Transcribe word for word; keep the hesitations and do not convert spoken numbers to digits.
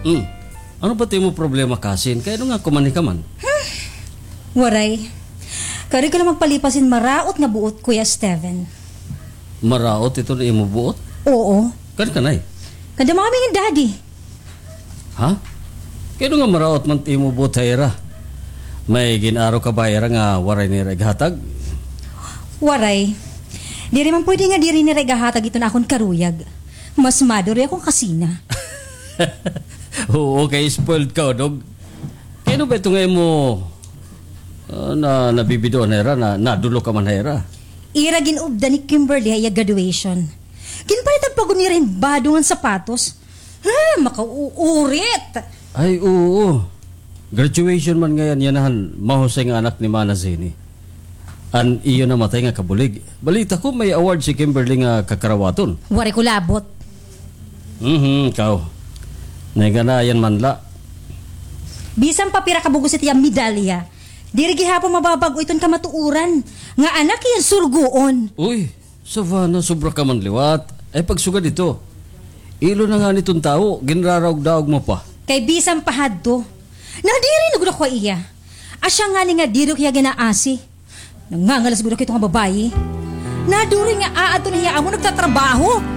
Hmm. Ano ba it imo problema, kasin? Kay ano nga kumanhi ka man? Waray. Kay diri ko la magpalipas hin maraot nga buot, Kuya Steven. Maraot iton imo buot? Oo. Kan kanay? Kan da Mommy ngan Daddy. Ha? Kay ano nga maraot man it imo buot ha ira? May gin-aro ka ba ha ira nga waray nira ighatag? Waray. Diri man pwede nga diri nira igahatag iton akon karuyag. Mas maduri ako kasina. Oo, kay spoiled ka, Dog. Kay ano ba ito nga imo, ah, na, nabibidoan ha ira, na, nadulok ka man ha ira? Ira gin-updan ni Kimberly ha iya graduation. Ginpalitan pa gud nira hin bado ngan sapatos. Ha, makauurit! Ay, oo. Graduation man ngay-an yana han mahusay nga anak ni Mana Zini. An iyo namatay nga kabulig. Balita ko may award si Kimberly nga kakarawaton. Waray ko labot. Mhm, ikaw. Naiganayan man la. Bisan pa pira ka bug-os it iya medalya, diri gihapon mababag-o iton kamatuoran nga anak hiya han surugoon. Uy, Savannah, sobra ka man liwat. Ay, pagsugad ito. Ilo na ngani iton tawo, ginraraog-daog mo pa. Kay bisan pa hadto, nadiri na gud ako ha iya. Asya ngani nga diri ko hiya gin-aasi. Nangangalas gud ako hito nga babaye. Naduri nga aadto na hiya amo nagtatrabaho.